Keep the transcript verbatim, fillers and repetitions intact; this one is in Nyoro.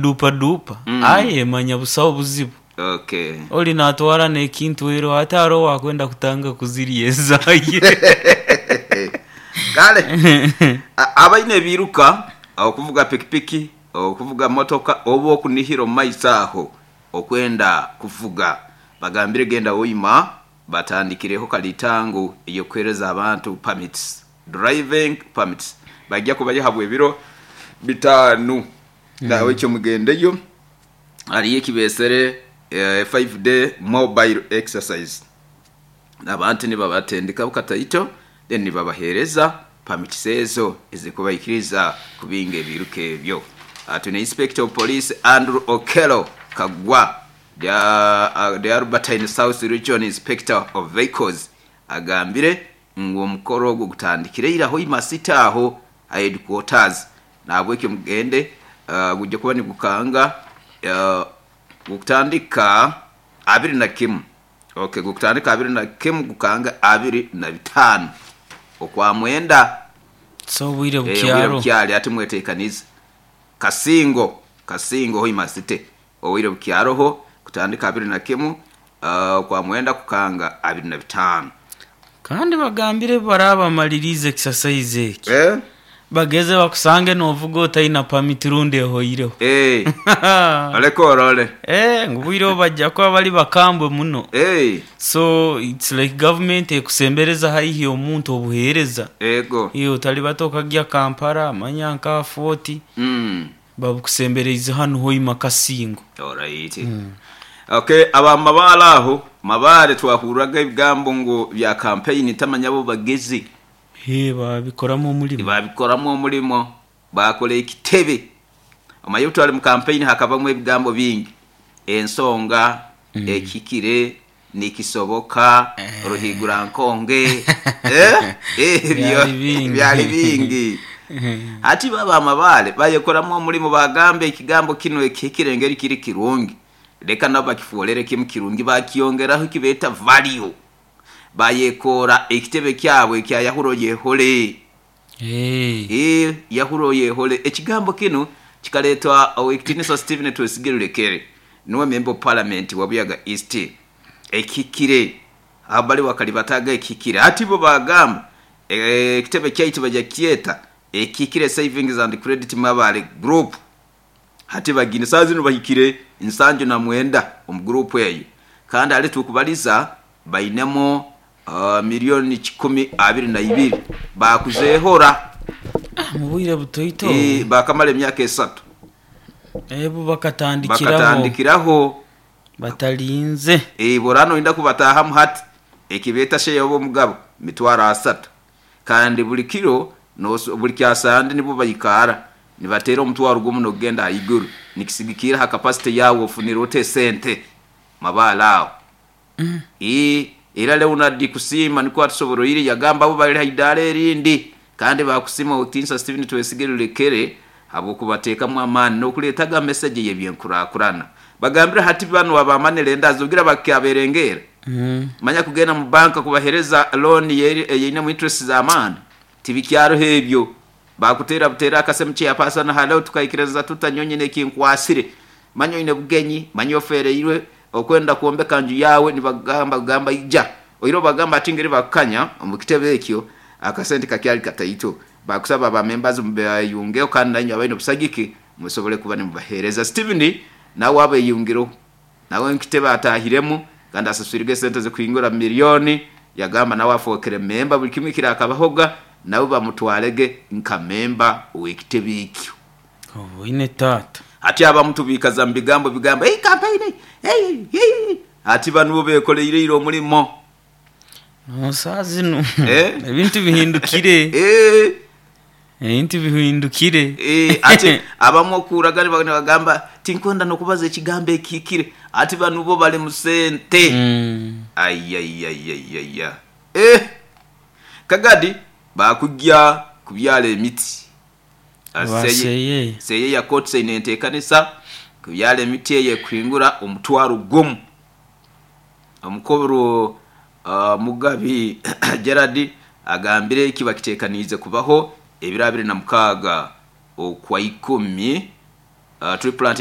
Dupa Mm. Aye manya busaho buzibu. Okay. Oli natwara n'ekintu ero ate hariho wakwenda kutanga kuzirya ezaye. Kale a- abaine ebiruka, okuvuga pikipiki, okuvuga motoka, oba okunihira omu maiso aho okwenda kuvuga, bagambire genda oima batandikireho kalitango ey'okuheereza abantu permits, driving permits. Bajja kubayihabwa ebiro bitaano. Nawe ekyo mugendeyo, hariyo ekibesere eh, five day mobile exercise. Abantu nibabatendeka bukataito, then nibabaheereza permits ezo ezikubaikiriza kubinga ebiruka ebyo. Ati Inspector of Police Andrew Okello Kagwa, the, uh, the Albertine South Region Inspector of Vehicles, agambire ngu omukoro ogwo gutandikire ira Hoima City aho headquarters. Nabwekyo mugende, uh, gujja kuba nigukanga, uh, gukutandika abiri na kimu. Okay, gukutandika abiri na kimu gukanga abiri na bitaano okwa mwenda. So obwire Eh, obwire bukyaro. bukyali ati mwetekanize. Kasingo, Kasingo Hoima City. Obwire bukyaroho kutandika abiri na kimu, uh, kwa mwenda kukanga abiri na bitaano. Kandi bagambire barabamaliriza exercise eki. Eh? Bageze bakusange novuga otaina permit rundi ehoireho. Eh. Oleko orole. Eh, ngu bwire bajja kuba bali bakambwe muno. Eh. So it's like government ekusembereza haihi omuntu obuheereza. Ego. Iyo otali batokagya Kampala, manya nka forty. Mm. Babukusembereize hano Hoima Kasingo. Alright. Mm. Okay, aba mabale aho, mabale twahuraga ebigambo ngo bya campaign tamanya bo bagezi. He babikoramu omulimo. Babikoramu omulimo, bakola ekitebe. Omanyi twali mu campaign hakabamu ebigambo bingi. Ensonga, mm. ekikire, nikisoboka, eh. Ruhigura nkonge. Eh? Eh, Byali bingi. Byali bingi. Ati baba amabale bayekoramu omulimo, bagambe ekigambo kino ekikire ngeri kiri kirungi. Leka nabo bakifuolere kimu kirungi, bakiyongeraho kibeta value. Bayekora ekitebe kyabwe kya Yahuro Yehole. Hey. Eh, Yahuro Yehole. Ekigambo kino kikaletwa Owekitinisa Stephen Twesigire Rekere, niwe member of parliament wa Buyaga East. Ekikire abali wakalibataga ekikire. Ati bo bagamba ekitebe kyaitu bajja kyeta Ekikire Savings and Credit Mabale Group. Hati bagine saa zino bahikire nsanju na mwenda omu group eyo. Kandi ali tukubaliza bainemo, uh, milioni kikumi abiri na ibiri bakuzehora. Ah, mu bwire butoito. E, bakamala emyaka esatu. Ebo bakatandikiraho. Bakatandikiraho. Batalinze. E, borano inda kubatahamu hati ekibeta sheya obo mugabo mitwaro asatu. Kandi buli kiro no buli kyasande nibo bayikara nibatera omutwaro gumu nogenda ayiguru nikisigikira ha capacity yawo ofunira ote sente mabala awo. Mm. E, era Leonard kusima niko atusoboro iri yagamba abo bali haidale erindi kandi bakusima Otinsa Stephen Twesigere Rekere abo kubatekamu amani no kuletaga message yebyenkurakurana. Bagambira hati bano abamanele ndazogira bakyaberengera. Mm. Manya kugenda mu banka kubahereza loan yeyine mu interest za amani tibikyaro hebyo bakutera butera akasemu cya pasana halo tukaikireza tutanyonye nekinkwasire manyo ine bugenyi manyo fereirwe okwenda kuombeka nju yawe nibagamba gamba ija oiro bagamba atingeri bakanya mu kitebe ekyo akasente kakyali kataito bakusaba ba members mbayungeo kandi nanyo abaino busagiki musobole kuba nimubahereza. Steven nawe abayungiro nawe nkitebe atahiremu kandi asaswirige sente zo kuingura milioni yagamba nawe afokere memba buli kimwe kirakabahoga nawe bamutwalege nka memba w'ekitebe ekyo. Obo ine tata. Ati abamuntu bikaza mu bigambo bigambo hey campaign hey hey ati banu bo bekoleire iro omulimo. No sazi no. Eh? Ebintu bihindukire. Eh. Ebintu bihindukire. Eh, ati abamu okuraga bagamba tinkwenda nokubaza ekigambo ekikire ati banu bo bali mu sente. Mm. Ay ay ay ay ay ay. Eh. Kagadi bakujja kubyala emiti. Baseye. Seye ya kotse inentekanisa kubyala emiti eye kwingura omutwaro gumu. Omukobro, uh, Mugabi Gerard agambire kiba kitekanize kubaho ebiro abiri na mukaga okwa ikumi, uh, tree planting